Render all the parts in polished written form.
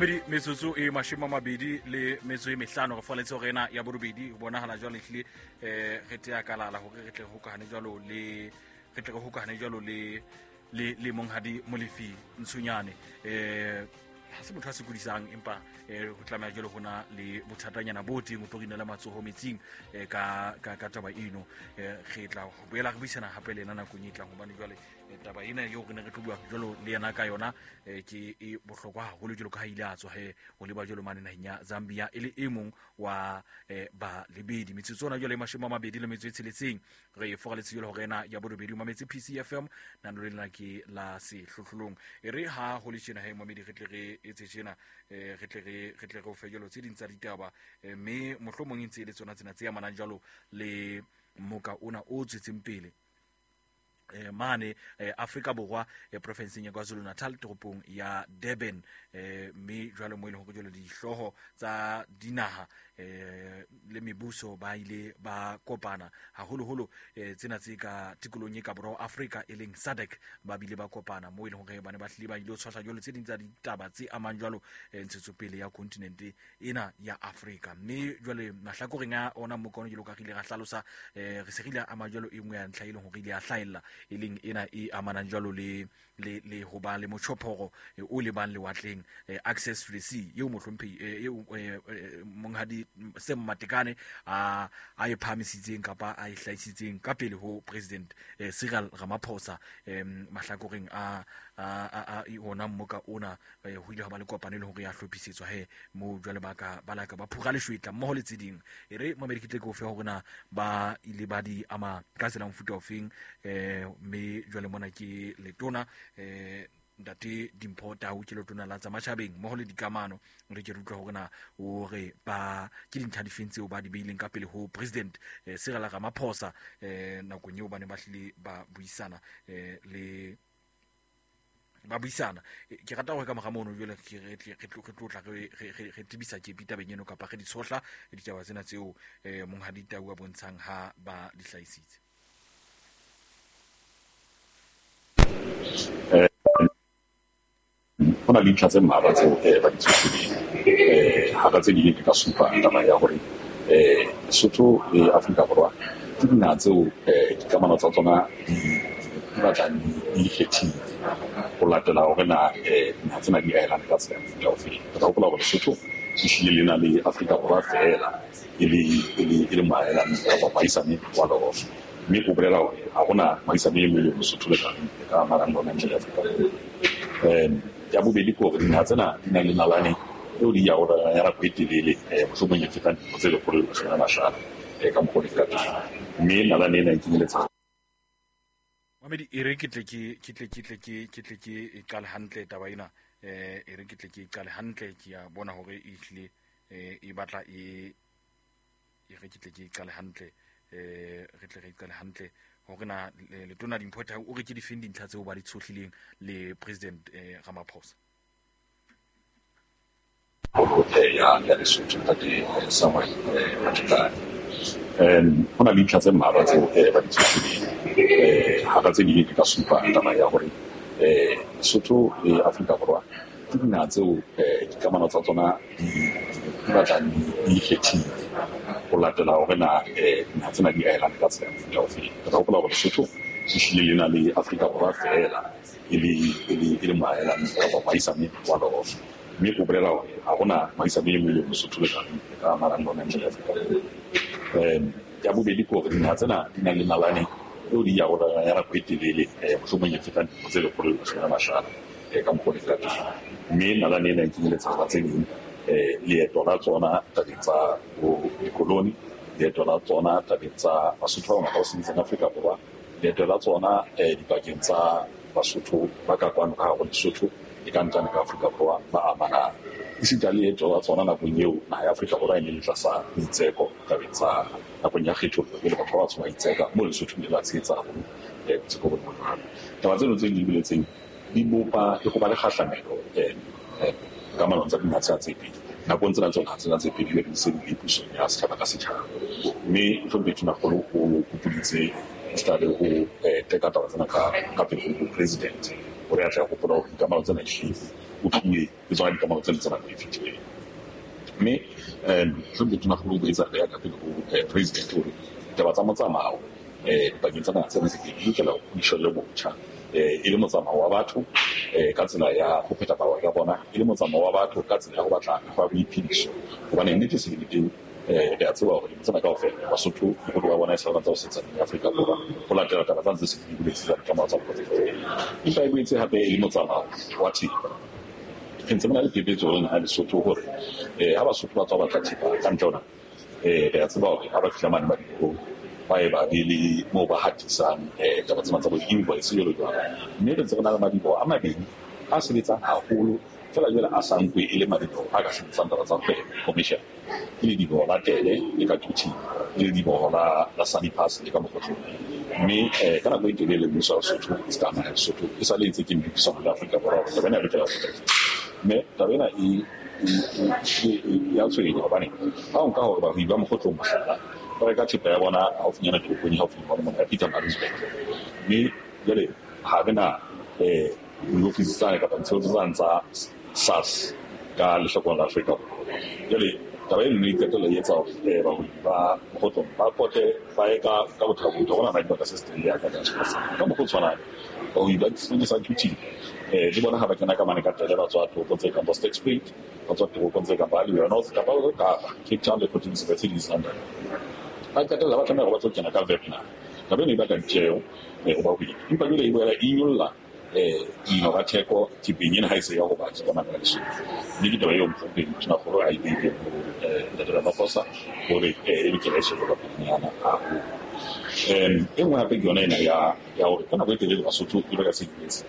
Mamedi, metsotso e 25 re faletse hore ena ya borobedi ho bonahala jwale ehlile re tea kalala hore re tle re hokahane jwalo le re tle re hokahane jwalo le le le monghadi Molefi Ntshonyane. Ha se motho a sokodisang, empa ho tlameha jwale hona le bothatanyana bo teng o tlo rinela matsoho metsing ka ka ka taba eno. Re tla boela re buisana hape le yena nakong e tlang, hobane jwale taba ena eo re ne re tlo bua jwalo le yena ka yona ke e bohlokwa haholo, jwalo ka ha ile a tswa he ho leba jwalo mane naheng ya Zambia e le e mong wa balebedi. Metsotso ona jwale 26 re foraletse jwalo hore ena ya borobedi o mametse PCFM, nano le lena ke la sehlohlolong. E re ha ho le tjena he momedi, re tle re etse tjena, re tle re re tle re o fe jwalo tse ding tsa ditaba, mme mohlomong e ntse e le tsona tsena tse amanang jwalo le moka ona o tswetseng pele mane Afrika Borwa, profinseng ya KwaZulu Natal, toropong ya Durban, mme jwale mo e leng hore jwale dihlooho tsa dinaha le mebuso ba ile ba kopana haholoholo, tsena tse ka tikolong e ka borwa Afrika e leng SADC, ba bile ba kopana mo e leng hore ba ne ba hlile ba ile ho tshwahla jwalo tse ding tsa ditaba tse amang jwalo ntshetsopele ya kontinente ena ya Afrika. Mme jwale mahlakoreng a ona mokono jwalo ka re ile ra hlalosa, re se re ile ama jwalo e nngwe ya ntlha e leng hore ile ya hlahella, e leng ena e amanang jwalo le le le ho ba le motjhophoro o lebang lewatleng, access to the sea, eo mohlomphehi eo monghadi Sam Matekane a e phahamisitseng kapa a e hlahisitseng ka pele ho President Cyril Ramaphosa. Mahlakoreng a a ona mmoka ona, ho ile ha ba le kopano e leng hore ya hlophisetswa he moo jwale ba ka ba laka ba phura leshwetla mmoho le tse ding. E re mamedi ke tle ke o fe hore na ba ile ba di ama ka tsela mofuta ofeng. Mme jwale mona ke letona ntate Dimpho Tau, ke letona la tsa matjhabeng mmoho le dikamano. Re ke re utlwa hore na o re ba ke dintlha difeng tseo ba di beileng ka pele ho President Cyril Ramaphosa nakong eo ba ne ba hlile ba buisana le ba buisana. Ke rata hore ka mora mono jwale re tlo tla re tebisa kepi tabeng eno, kapa re di tshohla ditaba tsena tseo monghadi Tau a bontshang ha ba di hlahisitse. Ho na le dintlha tse mmalwa tseo ba di tshohlileng. Hara tse ding ke ka supa taba ya hore Lesotho le Afrika Borwa ke dinaha tseo dikamano tsa tsona di batlang di ikgethile ho latela hore na dinaha tsena di ahelane ka tsela ya mofuta ofeng. Re tla hopola hore Lesotho e hlile le na le Afrika Borwa feela e le moahelani kapa moahisane wa lona, mme o bolela hore ha hona moahisane e mong e leng Lesotho le ka amanang le ona ntle le Afrika Borwa. Ya bobedi ke hore dinaha tsena di na le nalane eo di arolelanang ya nako e telele, mohlomong e fetang dilemo tse 150 ka mokgwa o leng ka teng, mme nalane ena e kenyeletsa. Mamedi, e re ke tle ke ke tle ke tle ke ke tle ke e qale hantle taba ena. E re ke tle ke e qale hantle, ke a bona hore e hlile e batla e e re ke tle ke e qale hantle, re tle re e qale hantle hore na letona Dimpho Tau o re ke difeng dintlha tseo ba di tshohlileng le President Ramaphosa. Ya Lesotho ntate Samuel Matekane. Ho na le dintlha tse mmalwa tseo ba di tshohlileng. Hara tse ding ke ka supa taba ya hore Lesotho le Afrika Borwa ke dinaha tseo dikamano tsa tsona di batlang di ikgethile ho latela hore na dinaha tsena di ahelane ka tsela ya mofuta ofeng. Re tla hopola hore Lesotho e hlile le na le Afrika Borwa feela e le moahelani kapa moahisane wa lona, mme o bolela hore ha hona moahisane e mong e leng Lesotho le ka amanang le ona ntle le Afrika Borwa. Ya bobedi ke hore dinaha tsena di na le nalane eo di arolelanang ya nako e telele, mohlomong e fetang dilemo tse 150 ka mokgwa o leng ka teng, mme nalane ena e kenyeletsa hara tse ding leeto la tsona tabeng tsa dikoloni, leeto la tsona tabeng tsa Basotho ba bangata ba sebetsang Afrika Borwa, leeto la tsona dipakeng tsa Basotho ba ka kwano ka hare ho Lesotho e ka ntlane ka Afrika Borwa ba amanang, esita le leeto la tsona nakong eo naha ya Afrika Borwa e ne le tlasa boitseko tabeng tsa nakong ya kgethollo, pele batho ba batsho ba itseka moo Lesotho le la tshehetsa haholo boitseko bo jwalo. Taba tseno tse di boletseng di bopa le ho ba le kgahlamelo kamanong tsa dinaha tsena tse pedi. Nakong tsena tseo naha tsena tse pedi di se di le pusong ya setjhaba ka setjhaba, mme mohlomphehi Tonakgolo o kopoditse esita le ho teka taba tsena ka pele ho President hore a tle a hopola hore dikamano tsena ehlile otluwe ke tsona dikamano tsena tsa nako e fetileng. Mme mohlomphehi Tonakgolo o boetse a beha ka pele ho president hore ditaba tsa motsamao dipakeng tsa naha tsena tse pedi di lokela di shwelle botjha, e le motsamao wa batho ka tsela ya ho phetha mabaka a bona, e le motsamao wa batho ka tsela ya ho batla mekgwa ya boiphediso. Hobane nnete se le teng, re a tseba hore dilemo tsena kaofela Basotho boholo ba bona e sa le ba ntse ba sebetsa Afrika Borwa ho latela taba tsa ntse se di boletse tsa dikamano tsa bona tse fetileng. Empa e boetse hape e le motsamao wa thepa. Re ntse re na le phephetso le naha ya Lesotho hore ha Basotho ba tswa batla thepa ka ntle ho naha, re a tseba hore ha ba fihla mane madibohong ba ye ba be le moo ba hatisang taba tsena tsa bo di-invoice jwalo jwalo. Mme re ntse re na le madiboho a mabedi a sebetsang haholo feela jwale a sa nkwe e le madiboho a ka sebetsang taba tsa kgwebo commercial. Ke lediboho la Tele le ka Quthing, le lediboho la Sani Pass le ka Mokhotlong. Mme ka nako e telele mmuso wa Lesotho e se ka naha ya Lesotho e sa le ntse ke dipuisano le Afrika Borwa hore taba ena e lokela ho potlakiswa. Mme taba ena e ya tshwenya hobane ha o nka hore bahwebi ba Mokhotlong mohlala ba reka thepa ya bona haufinyana toropong e haufi le bona mona ya Pietermaritzburg. Mme jwale ha re na diofisi tsane kapa ditshebeletso tsane tsa SARS ka lehlakoreng la Afrika Borwa. Jwale taba eno e qetella e etsa hore bahwebi ba Mokhotlong ba pote ba ye ka bothakotho hore na dibaka se se ya ka ka mokgwa o tshwanang. Bahwebi ba sebedisa Quthing le bona ha ba kena ka mane ka Tele ba tswa toropong tse kang bo Sterkspruit, ba tswa toropong tse kang ba Aliwal North kapa Kapa, Cape Town le Port Elizabeth le East London. Ba qetella ba tlameha hore ba tlo kena ka Vietnam. Taba eno e baka ditjeho ho bahwebi, empa jwale e boela e nyolla dino ka theko thepeng ena ha e se ya ho batho ka mane ka Lesotho. Mme ke taba eo mohlomphehi Tonakgolo a e beileng ho Ntate Ramaphosa hore e lokela e shejwe ka pelenyana haholo. E nngwe hape ke yona ena ya hore ka nako e telele Basotho e ba ka se sebetse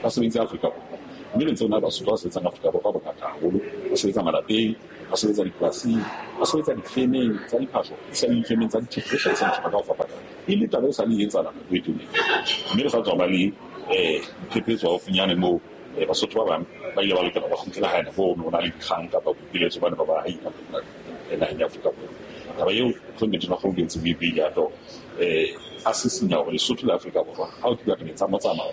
ba sebeditse Afrika Borwa. Mme re ntse re na le Basotho ba sebetsang Afrika Borwa bongata haholo, ba sebetsa malapeng, ba sebetsa dipolasing, ba sebetsa difemeng tsa diphahlo, esita le difemeng tsa dithepa tse hlahisang thepa ka ho fapana. E le taba e sa le e etsahala nako e telele. Mme re sa tswa ba le diphephetso haufinyane moo Basotho ba bang ba ile ba lokela ba kgutlele hae nako eo ho na le dikgang kapa boipiletso ba ne ba ba naheng ya Afrika Borwa. Taba eo mohlomphehi Tonakgolo o boetse o e beile hape hore a sisinya hore Lesotho le Afrika Borwa ha ho tluwa tabeng tsa motsamao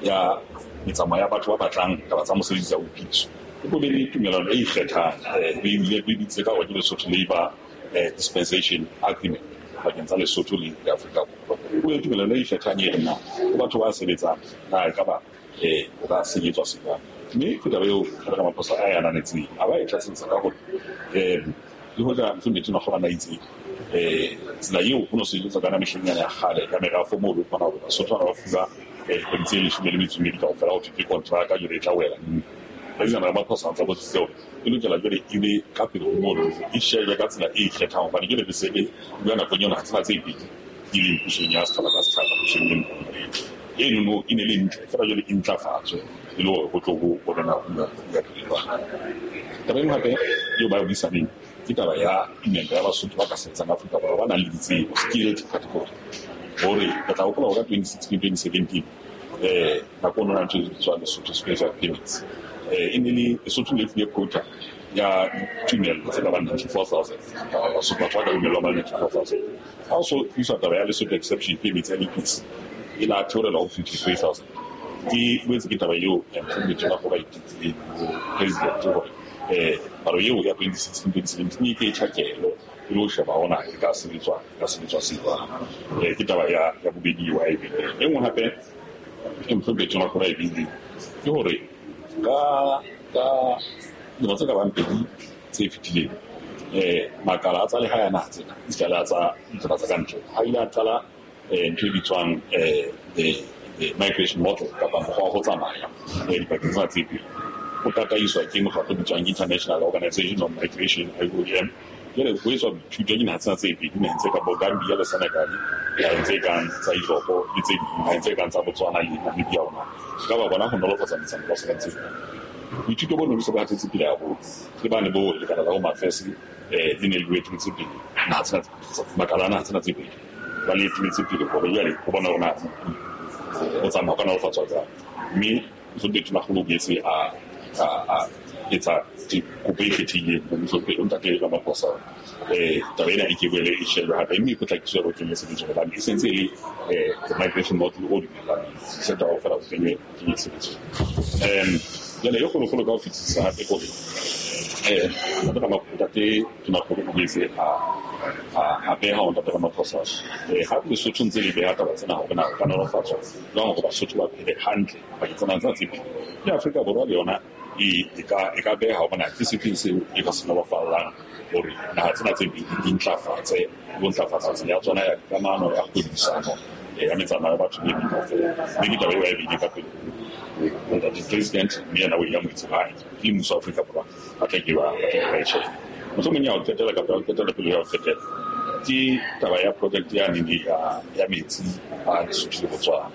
ya metsamao ya batho ba batlang taba tsa mosebetsi tsa boiphediso, e tlo be le tumellano e ikgethang, e bitse ka hore ke Lesotho Labour Dispensation Agreement pakeng tsa Lesotho le Afrika Borwa. Ho be le tumellano e ikgethang e reng na ho batho ba sebetsang na e ka ba o ka sebetswa se jwang. Mme ke taba eo Ramaphosa a e ananetseng, a ba e tlatsetsa ka hore le hoja mohlomphehi Tonakgolo a na itse tsela eo ho no sebetswa ka yona mehleng yana ya kgale ya merafo moo o kgona hore Basotho ba fuwa dikgwedi tse 18 kaofela ho thwe ke kontraka jwale e tla wela. President Ramaphosa a ntsa botsitse hore e lokela jwale e be ka pele ho mono e shejwe ka tsela e ikgethang hobane jwale re se re bua nakong eo naha tsena tse pedi di leng pusong ya setjhaba ka setjhaba pusong e nngwe. Eno e ne le ntle feela jwale e ntlafatswe e le hore ho tlo ho bonana ho bua pele jwang. Taba e nngwe hape eo ba e buisaneng ke taba ya tumello ya Basotho ba ka sebetsang Afrika Borwa ba nang le ditsebo, skilled category. Hore re tla hopola hore ka 2016 2017 nako eno ntho e bitswang Lesotho Special Permits, e ne le Lesotho le fuwe quota ya tumello tse ka bang 94,000 Basotho batho ba ka dumellwang ba 94,000. Ha o so tliswa taba ya Lesotho Exception Permits ya DPS e la theolelwa ho 53,000. Ke boetse ke taba eo mohlomphehi Tonakgolo a itekileng ho president hore palo eo ya 2016 2017 e ke e tjhakelo e le ho sheba hore na e ka sebetswa se jwang. Ke taba ya bobedi eo a e beileng. E nngwe hape e mohlomphehi Tonakgolo a e beileng ke hore ka dilemo tse ka bang pedi tse fetileng makala a tsa lehae a naha tsena esita le a tsa ditaba tsa kantle a ile a qala ntho e bitswang the migration model kapa mokgwa wa ho tsamaya dipakeng tsena tse pedi. O tataiswa ke mokgatlo o bitswang International Organization on Migration, IOM. Jwale ho etswa boithuto ke dinaha tsena tse pedi, dinaheng tse kang bo Gambia le Senegal, dinaheng tse kang tsa Europe le tse ding, dinaheng tse kang tsa Botswana le Namibia hona. Ka ba bona ho nolofatsa metsamao ba sebeng tse jwalo. Boithuto bo no bo se bo hatetse pele haholo. Ke bane bo lekala la Home Affairs le ne le etelletse pele naha tsena makala a naha tsena tse pedi ba le etelletse pele hore jwale ho bona hore na o tsamaya ka nolofatswa jwang. Mme mohlomphehi Tonakgolo o boetse a etsa kopo e kgethehileng ho mohlomphehi Ntate Ramaphosa taba ena e ke boele e shejwe hape mme e potlakiswe hore o kenywe tshebetsong hobane e sentse e le the migration model o dumellaneng se taba kaofela o kenywe tshebetsong. Jwale e kgolokgolo ka ho fetisisa hape kore ntate Tonakgolo o boetse a beha ho ntate Ramaphosa ha Lesotho ntse le beha taba tsena hore na ho ka nolofatswa jwang hore Basotho ba phele hantle pakeng tsa naha tsena tse pedi. Le Afrika Borwa le yona e ka beha hore na ke sefeng seo e ka se nolofallang hore naha tsena tse pedi di ntlafatse le ho ntlafatsa tsela ya tsona ya dikamano, ya kgwebisano, ya metsamao ya batho le e meng kaofela. Mme ke taba eo a e behileng ka pele ho ntate President, mme yena o e amohetse hae ke mmuso wa Afrika Borwa ba tla ke ba e tjhehe. Mohlomong ya ho qetela kapa ya ho qetela pele ya ho qetela ke taba ya project ya nene ya metsi a Lesotho le Botswana.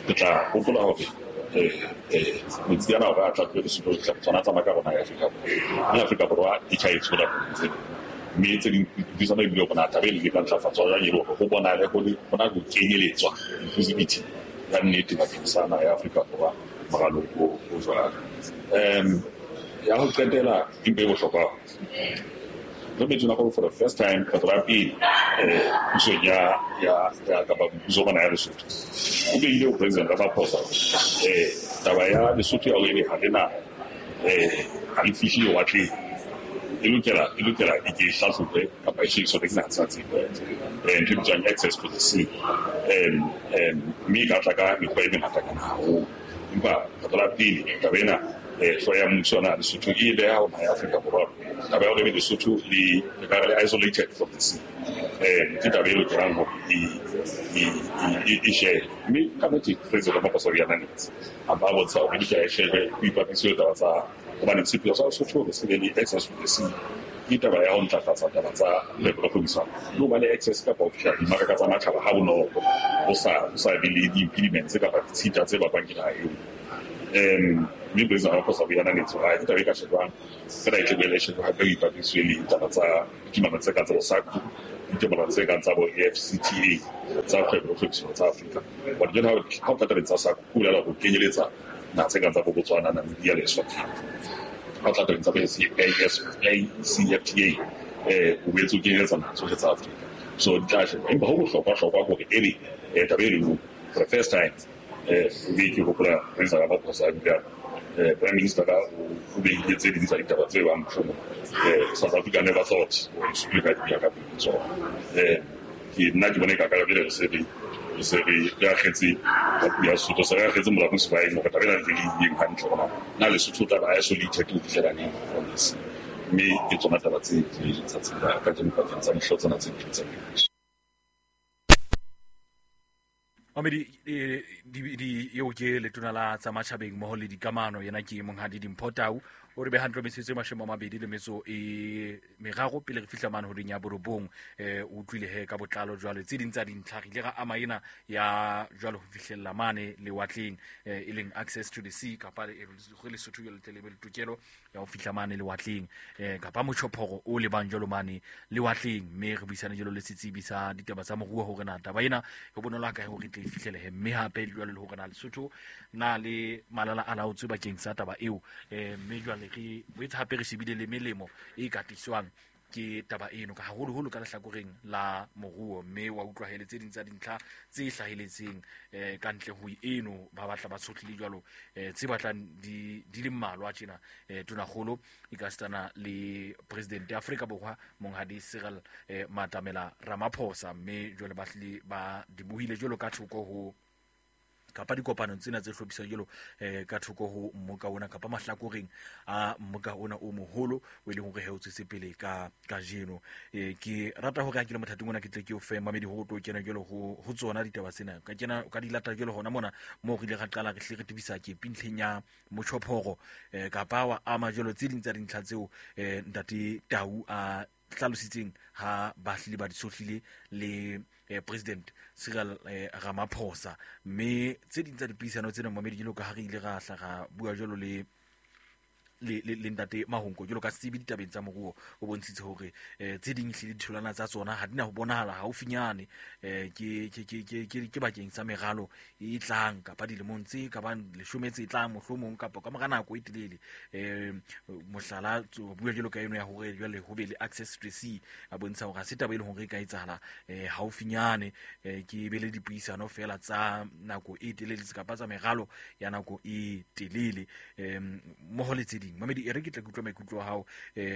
Re tla hopola hore metsi ana hore a tla tlohe Lesotho le Botswana a tsamaya ka rona ya Afrika Borwa, mme Afrika Borwa e tjha e tshola tse mme tse ding dipuisano ebile hore na taba e le ka ntlafatswa jwang e le hore ho bonahale ho le ho na ho kenyeletswa inclusivity ya nnete bakeng sa naha ya Afrika Borwa moralong o jwalo. Ya ho qetela empa e bohlokwa re betswe nako for the first time kgetlo la pele pusong ya kapa mmuso wa naha ya Lesotho o behile ho President Ramaphosa taba ya Lesotho ya hore ebe ha le na ha le fihle lewatleng e lokela e ke e hlahlojwe kapa e shebiswe ke naha tsena tse ntho e bitswang access to the sea, mme e ka tla ka mekgwa e mengata kana haholo. Empa kgetlo la pele taba ena hlooho ya mmuso wa naha Lesotho e beha ho naha ya Afrika Borwa taba ya hore ebe Lesotho le ka re le isolated from the sea ke taba e lokelang hore e shebe. Mme ka nnete President Ramaphosa o e ananetse, a ba bontsha hore e lokela e shebe ho ipapiswe le taba tsa hobane sepheo sa Lesotho hore se be le access to the sea ke taba ya ho ntlafatsa taba tsa kgwebo le kgwebisano le ho ba le access kapa ho fihla dimaraka tsa matjhaba ha bonolo ho sa be le di-impediments kapa ditshita tse bakwang ke naha eo. Mme President Ramaphosa o e ananetse hore ke taba e ka shejwang fela e tle boele e shejwe hape ho ipapiswe le ditaba tsa ditumellano tse kang tsa bo SACU, ditumellano tse kang tsa bo AfCFTA tsa kgwebo le kgwebisano tsa Afrika. Hobane jwale ha o tla tabeng tsa SACU ho bolela ho kenyeletsa naha tse kang tsa bo Botswana, Namibia le Eswatini. Ha o tla tabeng tsa bo AfCFTA o boetse o kenyeletsa naha tsohle tsa Afrika. So di tla shejwa. Empa ho bohlokwa-hlokwa ke hore ebe taba e leng for the first time ebe ke hopola President Ramaphosa a bile Prime Minister ka o behile tse ding tsa ditaba tse bang mohlomong South Africa never thought hore Lesotho le ka di beha ka pele ho tsona. Ke nna ke bona e ka ka jwale re se re akgetse ka puo ya Sesotho, se re akgetse molapo sebaeng hore taba ena ntse re e iyeng hantle hore na Lesotho o tla ba isolated ho fihlela neng from this. Mme ke tsona taba tse tsatsing la kajeno pakeng tsa dihlooho tsena tse pedi tsa mebuso. Mamedi eo ke letona la tsa matjhabeng mmoho le dikamano, yena ke monghadi Dimpho Tau. O re beha ntlo metsotso e 23 pele re fihla mane horeng ya 9. O utlwile he ka botlalo jwale tse ding tsa dintlha re ile ra ama ena ya jwale ho fihlella mane lewatleng, e leng access to the sea kapa re Lesotho jwale tle le be le tokelo ya ho fihla mane lewatleng, kapa motjhophoro o lebang jwalo mane lewatleng. Mme re buisane jwalo le setsebi sa ditaba tsa moruo hore na taba ena ho bonolo ha kae hore tle e fihlelehe, mme hape jwalo le hore na Lesotho na le malala a laotswe bakeng sa taba eo. Mme jwale re boetse hape re shebile le melemo e ka tliswang ke taba eno ka haholoholo ka lehlakoreng la moruo, mme wa utlwa hele tse ding tsa dintlha tse hlaheletseng ka ntle ho eno ba batla ba tshohlile jwalo tse batlang di le mmalwa tjena. Tonakgolo e ka sitana le President ya Afrika Borwa monghadi Cyril Matamela Ramaphosa, mme jwale ba hlile ba di buhile jwalo ka thoko ho kapa dikopanong tsena tse hlophisang jwalo ka thoko ho mmoka ona kapa mahlakoreng a mmoka ona o moholo o e leng hore he o tswetse pele ka kajeno. Ke rata hore ha ke le mothating ona ke tle ke o fe mamedi hore o tlo kena jwalo ho tsona ditaba tsena, ka kena ka di lata jwalo hona mona moo re ile ra qala re hle re tebisa ke pintlheng ya motjhophoro, kapa wa ama jwalo tse ding tsa dintlha tseo ntate Tau a hlalositseng ha ba hlile ba di sohlile le President Cyril Ramaphosa. Mme tse ding tsa dipuisano tsena mamedi jwalo ka ha re ile ra hla ra bua jwalo le le ntate Mahonko jwalo ka setsebi ditabeng tsa moruo, o bontshitse hore tse ding ehlile ditholwana tsa tsona ha di na ho bonahala haufinyane, ke bakeng sa meralo e tlang kapa dilemong tse ka bang 10 tse tlang mohlomong kapa ka mora nako e telele. Mohlala bua jwalo ka eno ya hore jwale ho be le access to the sea, a bontsha hore ha se taba e leng hore e ka etsahala haufinyane, ke be le dipuisano fela tsa nako e telele kapa tsa meralo ya nako e telele, mmoho le tse ding. Mamedi, e re ke tle ke utlwe maikutlo a hao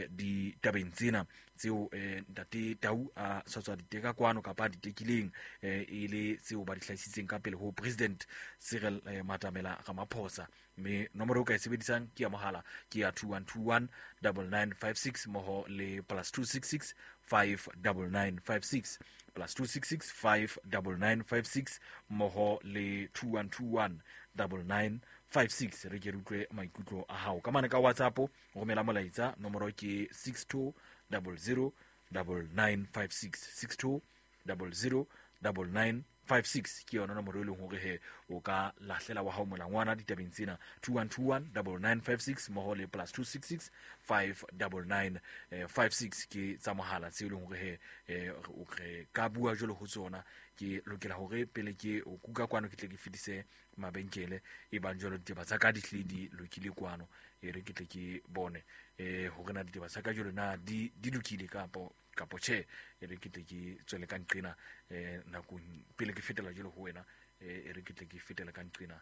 ditabeng tsena tseo ntate Tau a sa tswa diteka kwano kapa a ditekileng, e le tseo ba di hlahisitseng ka pele ho President Cyril Matamela Ramaphosa. Mme nomoro o ka e sebedisang ke ya mohala, ke ya 2121 9956 mmoho le +266 59956, +266 59956 mmoho le 2121 9956. Re ke re utlwe maikutlo a hao ka mane ka WhatsApp, romela molaetsa, nomoro ke 62 00 9956, 62 00 9956 ke yona nomoro e leng hore he o ka lahlela wa hao molangwana ditabeng tsena, 2121 9956 mmoho le +266 599 56 ke tsa mohala tseo e leng hore he re ka bua jwalo ho tsona. Ke lokela hore pele ke o kuka kwano ke tle ke fetise mabenkele e bang jwalo ditaba tsa ka di hlile di lokile kwano, e re ke tle ke bone hore na ditaba tsa ka jwalo na di lokile kapo tjhe. E re ke tle ke tswele ka nqena nakong pele ke fetela jwalo ho wena, e re ke tle ke fetela ka nqena.